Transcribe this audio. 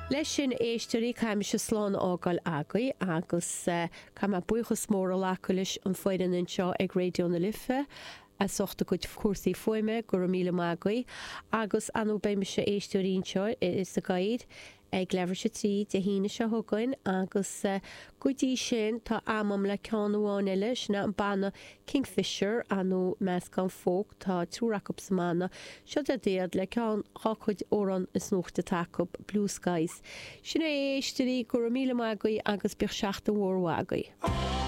Leis sin, a éisteoirí, caithfidh mise slán a fhágáil agaibh agus caithfidh mé buíochas mór a ghlacadh leis an foireann anseo ag Raidió na Life as ucht a gcuid cúrsaí fuaime, go raibh míle maith agaibh. Agus ar ndóigh beidh mise, a éisteoirí, anseo sa gcathaoir ag leathuair tar éis a 3 Dé hAoine seo chugainn agus go dtí sin tá am agam le ceann amháin eile, sin é an banna Kingfisher, ar ndóigh meascán folk, tá triúr acu sa mbanna, seo iad le ceann dhá cuid amhrán is nuachta atá acu, Blue Skies. Sin é a éisteoirí, go raibh míle maith agaibh agus bíodh seachtain mhór mhaith agaibh.